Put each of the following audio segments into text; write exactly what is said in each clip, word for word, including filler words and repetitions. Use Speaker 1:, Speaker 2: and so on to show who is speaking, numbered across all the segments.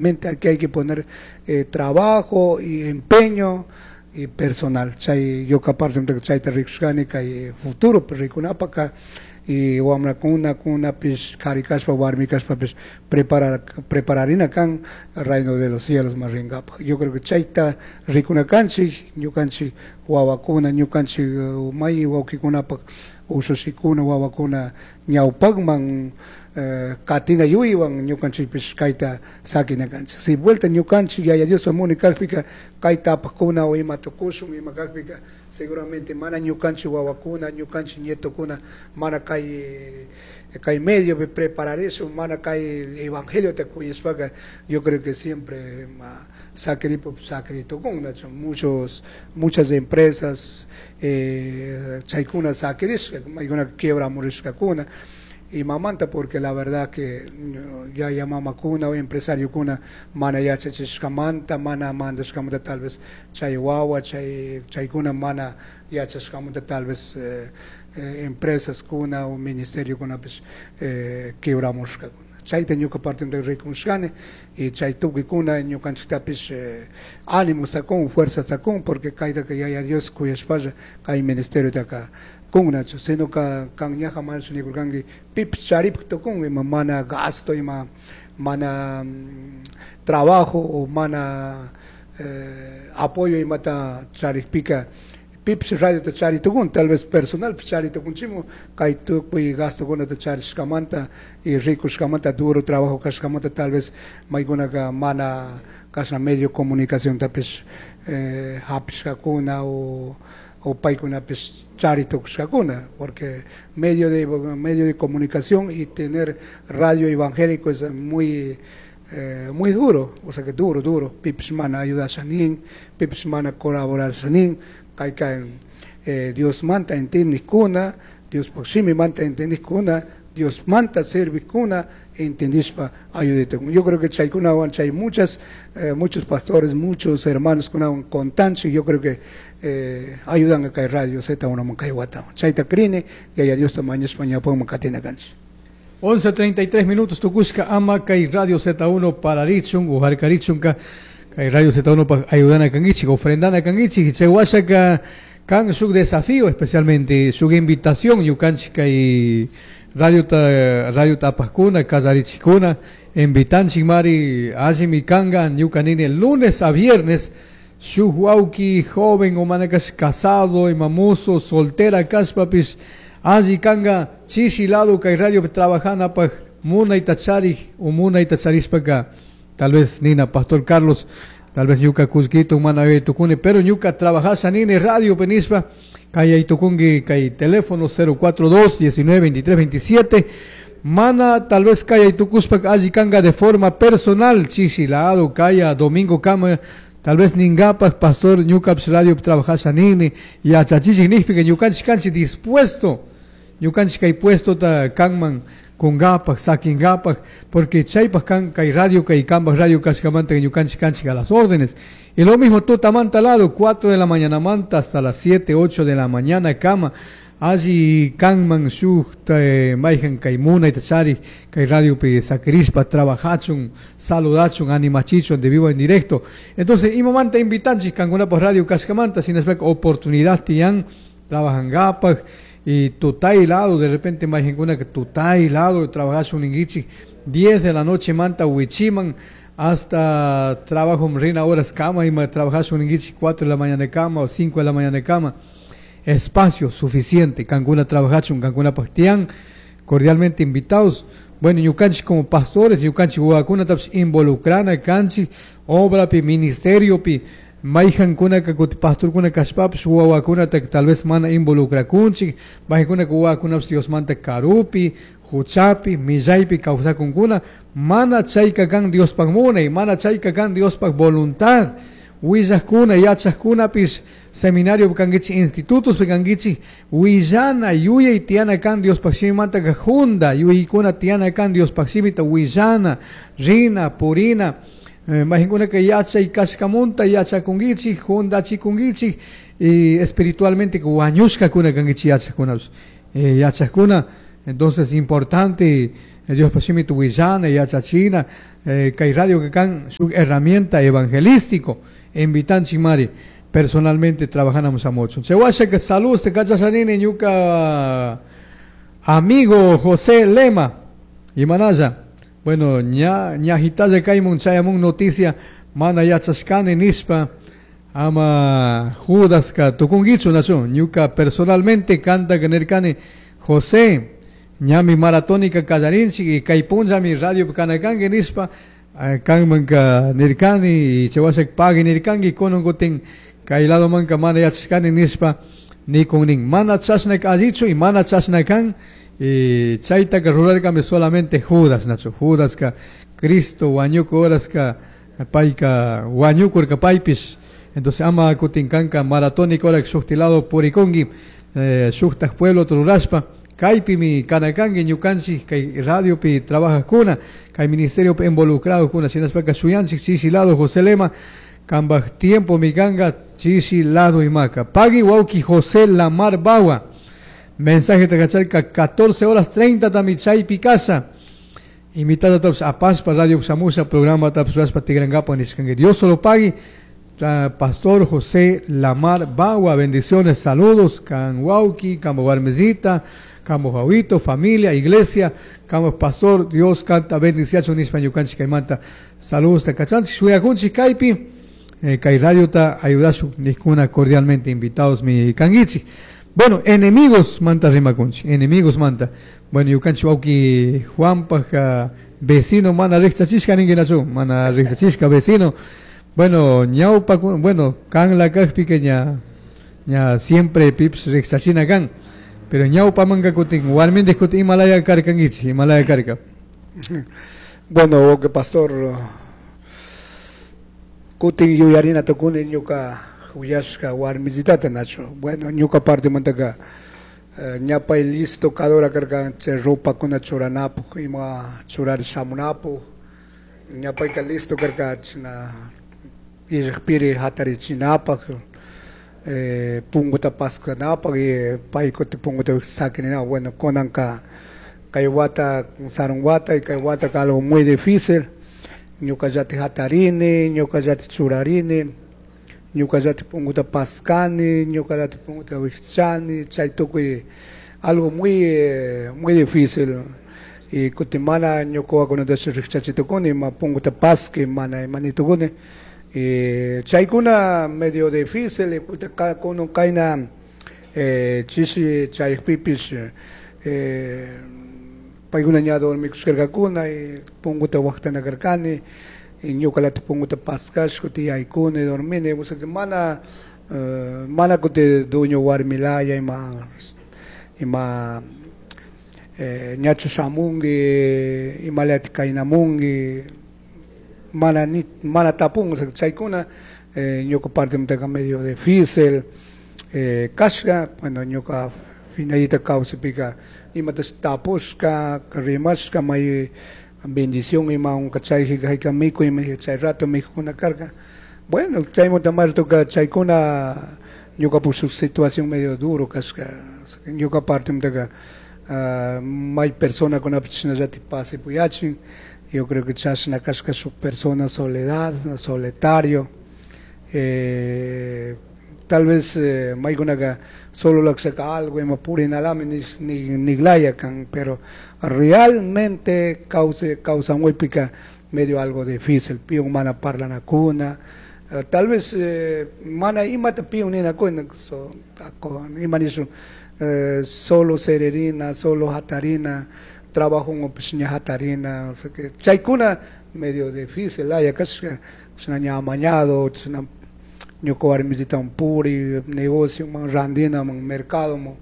Speaker 1: Aquí hay que poner eh, trabajo y empeño y personal. Chay ñuka parte chayta rikushkani kay futuro rikunapaka y wamrakuna kunapish kari kashpa warmi kashpapish preparar prepararina kan reino de los cielos man ringapaj. Yo creo que chayta rikuna kanchik ñukanchik wawakuna ñukanchik may wawkikunapak ushashikuna wawakuna ñawpakman eh, katina yuyaywan ñukanchikpish kayta sakina kanchik. Si vuelta ñukanchik Yaya Diospa muni kakpika kayta apakuna o ima tukushun ima kakpika seguramente mana ñukanchik wawakuna ñukanchik nietokuna mana kay kay medio prepararishun mana kay evangelio ta kuyashpaka yo creo que siempre ma sakiripo sakiritukun muchos muchas empresas eh, chaykuna sakirishka maykuna quiebramurishkakuna y mamanta porque la verdad que ya mamakuna o empresariokuna mana yachachishkamanta mana mandashkamanta tal vez chay wawa chay chaykuna mana yachashkamanta tal vez eh, eh, empresas kuna o ministerio kunapish eh, quebramushkakuna chayta ñuka parte rikushkani y chay tukuykuna ñukanchiktapish eh, ánimos kun fuerzas kun porque kaytaka Yaya Dios kuyashpalla kay ministeriotaka kunnachu sino ka kan ñaja manachu nikurkanki pipish charipak tukun ima mana gasto ima mana mm, trabajo o mana eh, apoyo imata charikpika pipish radiota chari tukun tal vez personal chari tukunchikmu kay tukuy gastokunata charishkamanta y rikushkamanta duro trabajo kashkamanta tal vez maykunaka mana kashna medio comunicaciontapish eh, hapishkakuna o o paykunapish chari tukushkakuna porque medio de medio de comunicación y tener radio evangélico es muy eh, muy duro, o sea que duro, duro. Pipish mana ayudashanin, pipish mana colaborashanin, kayka eh, Dios manta entendikuna, Dios manta entendikuna, Dios manta servikuna, entendishpa ayudete. Yo creo que chaykunawan chay muchas eh, muchos pastores, muchos hermanos kunawan contanchik, yo creo que eh, ayudan a kay radio Z uno kay wata. Chayta krini, Yaya Diosta mañashpa ñawpakman katina kanchik.
Speaker 2: once treinta y tres minutos tukushka ama kay Radio Z uno pararichun o harkarichunka kay Radio Z uno pa ayudana kankichik, ofrendana kankichik. Chay washaka kan shuk desafío, especialmente shuk invitación ñukanchik kay radio ta radio tapajkuna kallarichikuna invitanchik mari. Allimi kanga ñuka nini lunes a viernes shuk wawki joven o manakash casado imamuso soltera kashpapish alli kanga chishi lado kay radio trabajanapaj munayta charik o munayta charishpaka tal vez nina pastor Carlos, tal vez ñuka kullkito mana tukuni, pero ñuka trabajasha nini radio penishpa kay tukunki kay teléfono cero cuatro dos diecinueve veintitrés veintisiete. Mana tal vez kay tukushpa alli kanga de forma personal chishi lado kaya domingo kama tal vez ningapak pastor ñukapish radio trabajasha nini yachachishik nijpika ñukanchik kanchik dispuesto ñukanchik kay puesto ta kanman kungapak sakingapak porque chaypak kan kay radio kay kanpak radio kashkamanta ñukanchik kanchik a las órdenes. Y lo mismo tutamanta lado, cuatro de la mañana manta hasta las siete, ocho de la mañana kama alli kanman shuk mayjan kay munayta charik kay radiopi sakirishpa trabajachun, saludachun, animachichun de vivo en directo. Entonces imamanta invitanchik kankunapaj radio kashkamanta shinashpaka oportunidad tiyan trabajangapak y tutay lado de repente mayjankuna que tutay lado trabajachun ninkichik diez de la noche manta wichiman hasta trabajo rina horas kama ima trabajachun ninkichik cuatro de la mañana kama o cinco de la mañana kama, espacio suficiente kankuna trabajachun kankunapaj tiyan, cordialmente invitados. Bueno, ñukanchik como pastores ñukanchik wawakunatapish involucrana kanchik obrapi, ministeriopi. Mayjankunaka kutin pastorkuna kashpapish wawakunata tal vez mana involucrakunchik mayjankunaka wawakunapish Diosmanta karupi, huchapi, millaypi kawsakunkuna. Mana chayka kan Diospaj munay, mana chayka kan Diospaj voluntad. Willajkuna, yachajkunapish seminario kankichik, institutos kankichik, willana yuyay tiyana kan Diospaj shimimantaka junda yuyaykuna tiyana kan Diospaj shimita willana, rina, purina eh, mayjankunaka yachay kashkamunta yachakunkichik, jundachikunkichik y espiritualmente wañushkakuna kankichik yachajkunapish eh, yachajkuna. Entonces importante Diospa shimita willana yachachina eh, kay radio que kan shuk herramienta evangelístico invitanchik mari personalmente trabajanamos a mucho. Chay washaka saludos te kachashanini ñuka amigo José Lema y manaya. Bueno, ña ña kaymun chayamun noticia mana yachashkani nishpa ama Judaska tukunkichu nachu ñuka personalmente kanta nirkani José ñami maratónica kallarinchik y kay punllami radio kanakanki nishpa kanmanka nirkani y chay washa pagui nirkanki kunan kutin kay ladomanka mana yachashkani nishpa nikun nin mana chashna allichu y mana chashna kan y chaytaka rurarkami solamente Judas nachu Judaska Cristo wañuku horaska payka wañukurka paypish. Entonces ama kutin kanka maratónica hora shukti lado purikunki eh, shuktak pueblo rurashpa kaypimi kanakanki ñukanchik kay radiopi trabajajkuna kay ministeriopi involucrado shinashpaka shuyanchik chishi lado José Lema kambaj tiempo mi kanka chishi lado imaka pagui wawki José Lamar Bawa mensaje kacharka catorce horas treinta tami chaypi casa invitada taps apashpa radio shamusha programa taps rurashpa tikrankapa nishkanki Dios solo pagui. Pastor José Lamar Bawa, bendiciones, saludos, kan wawki, kan warmizita, kan wawito, familia, iglesia, kan pastor, Dios kanta bendiciacho nishpa ñukanchik kaymanta, saludos takachanchik, shuyakunchik kaypi, eh, kay radiota ayudashuk nijkuna cordialmente invitados mi kankichik. Bueno, enemigos manta rimakunchik, enemigos manta. Bueno, ñukanchik wawki Juanpaj vecino mana riqchachishka ninkinachu, mana riqchachishka vecino. Bueno, ñawpa, bueno, kan la kajpika ña, ña siempre pips riqchachina kan, pero ñawpa manka kutin, warmindik kutin imalaya karkankichik, imalaya karka.
Speaker 1: Bueno, que pastor, kutin yuyarina tukuni ñuka huyashka warmizitata nachu. Bueno, ñuka parte mantaka ñapay listo kadora karka chay ropakuna churanapuk, ima churar shamunapuk, ñapayka listo karka china irpiri hatarichinapaq eh, punguta paskanapaq y paykuti punguta saquinina. Bueno, kunanka kay wata sarun wata y kay wata algo muy difícil, ñuka llati hatarini, ñuka llati churarini, ñuka llati punguta pascani, ñuka llati punguta wichani, chay tukuy algo muy eh, muy difícil. Y kutin mana ñuka wawakunata riqchachitukuni ma punguta pasqui mana imanitukuni. Eh, chaykuna medio difícil, kuno kayna eh, chishi chaypipish eh, paykuna ña dormikushkarkakuna y punguta waqtana karkani y ñukalata punguta paskash kuti yaykuni dormini, o sea que mana uh, mana kuti dueño warmilaya ima ima eh, ñachu shamunki imalati kaynamunki mana ni mana tapun, o sea, chaykuna eh, ñuka parte mantaka medio difícil eh, kashka, bueno, ñuka finalita kawsapika imatash tapushka rimashka may bendición ima unka chay hayka mikuy ima chay rato mikuna karka. Bueno, chaymunta martuka chaykuna ñuka su situación medio duro kashka, ñuka parte mantaka uh, may persona kunapish chashnallati pase puyachin. Yo creo que chashna kashka su persona soledad, solitario, eh, tal vez eh, maykunaka solo lakshaka algo ima purinalami ni niglaya kan, pero realmente causa causa pika medio algo difícil, piun mana parlanakuna, uh, tal vez eh, mana imata piun ninakuna, so, ima nishu eh, solo sererina, solo hatarina, trabajo ña hatarina, o sea que chaykuna medio difícil, laya kashka, chashna ña amañado, chashna ñuka warmisita puri, negocio man randina man mercado man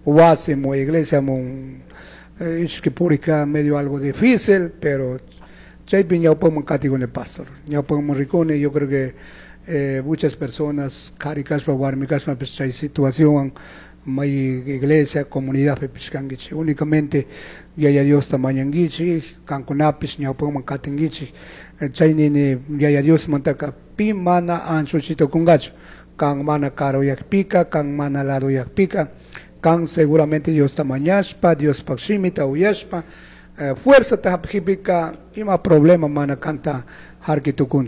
Speaker 1: wasi man iglesia man eh, ishki purika medio algo difícil, pero chaypi ñawpaman katikuni pastor, ñawpaman rikuni, yo creo que eh, muchas personas kari kashpa warmi kashpa chay situación may iglesia, comunidad pipish kankichik, únicamente Yaya Diosta mañankichik, kankunapish ñawpaman katinkichik, chay nini Yaya Dios mantaka pi mana anchuchitukunkachu, kan mana karuyakpika, kan mana laduyakpika, kan seguramente Diosta mañashpa, Diospaj shimita uyashpa, eh, fuerzata hapijpika ima problema mana kanta harki tukunchu.